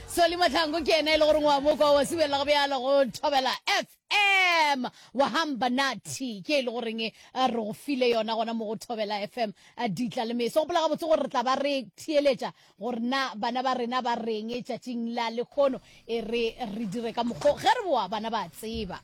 Solly Mahlangu ke yena e le goreng wa mo kwa wa sibelela go bjalo go Thobela FM. Wa hamba nathi ke e le goreng eh, re go file yona gona mo go Thobela FM eh, ditla le meso. Gopola gabotse gore re tla ba re theeletša gore na bana ba rena ba reng tšatšing la lekgono e re re dire ka mokgo ge re boa bana ba tseba.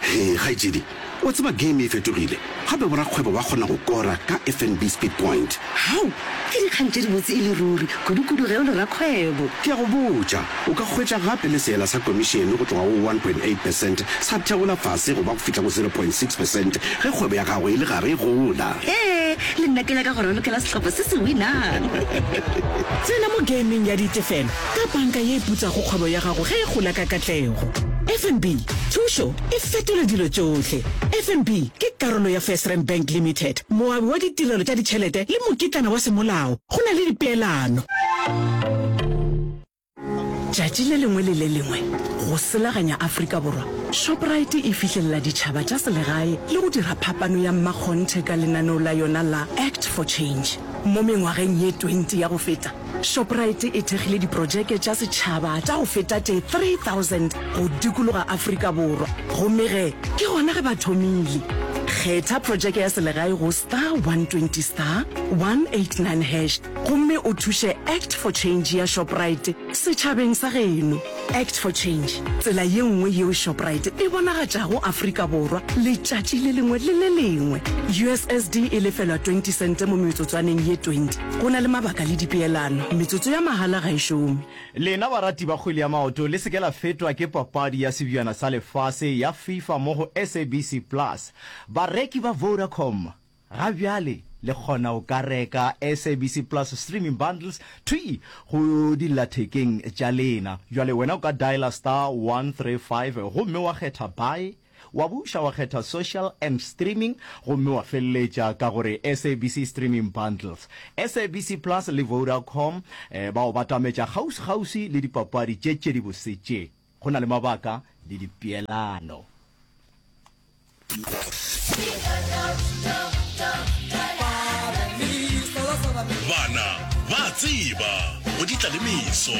Hee kgaetšedi, wa tseba game e fetogile, gape borakgwebo ba kgona go kora ka FNB Speed Point. Hao! Ke dikgang tše dibotse e le ruri, kudu-kudu ge o le rakgwebo. Ke a go botša, o ka hwetša gape le seela sa komišene go tloga go 1.8 percent sa theola fase go ba go fihla go 0.6 percent ge kgwebo ya gago e le gare e gola. Hee, le nna ke nyaka go ralokela sehlopha se se winang. Tsena mo gameng ya ditefelo ka panka ye e putsago kgwebo ya gago ge e gola ka katlego. FNB, thušo e fetola dilo tšohle. FNB ke karolo ya FirstRand Bank Limited, moabi wa ditirelo tša ditšhelete le mokitlana wa semolao. Go na le dipeelano. Tšatši le lengwe le le lengwe, go selaganya Afrika Borwa, Shoprite e fihlelela ditšhaba tša selegae le go dira phapano ya mmakgonthe ka lenaneo la yona la Act for Change. Mo mengwageng ye 20 ya go feta, Shoprite e thekgile diprojeke tša setšhaba tša go feta tše 3000 go dikologa Afrika Borwa, gomme ge ke gona ge ba thomile. Kgetha projeke ya selegae go star 120 star 189 hash gomme o thuše Act for Change ya Shoprite setšhabeng sa geno. Act for Change, tsela ye nngwe yeo Shoprite e bonagatšago Afrika Borwa letšatši le lengwe le le lengwe. USSD e lefelwa 20 sente mo metsotswaneng ye 20. Go na le mabaka le dipeelano. Metsotso ya mahala ga e šome. Lena barati ba kgwele ya maoto, le se ke la fetwa ke papadi ya Sebjana sa Lefase ya FIFA mo go SABC Plus. Bareki ba Vodacom Ga bjale le kgona go ka reka SABC Plus streaming bundles thwii go dillathekeng tša lena. Bjale wena o ka dialer star 135 gomme wa kgetha Buy, wa buša wa kgetha Social and Streaming gomme wa feleletša ka gore SABC Streaming Bundles. SABC Plus le Vodacom ba go batametša kgauswi-kgauswi le dipapadi tše tše dibose tše. Go na le mabaka le dipeelano. Bana ba a tseba go di tla le meso.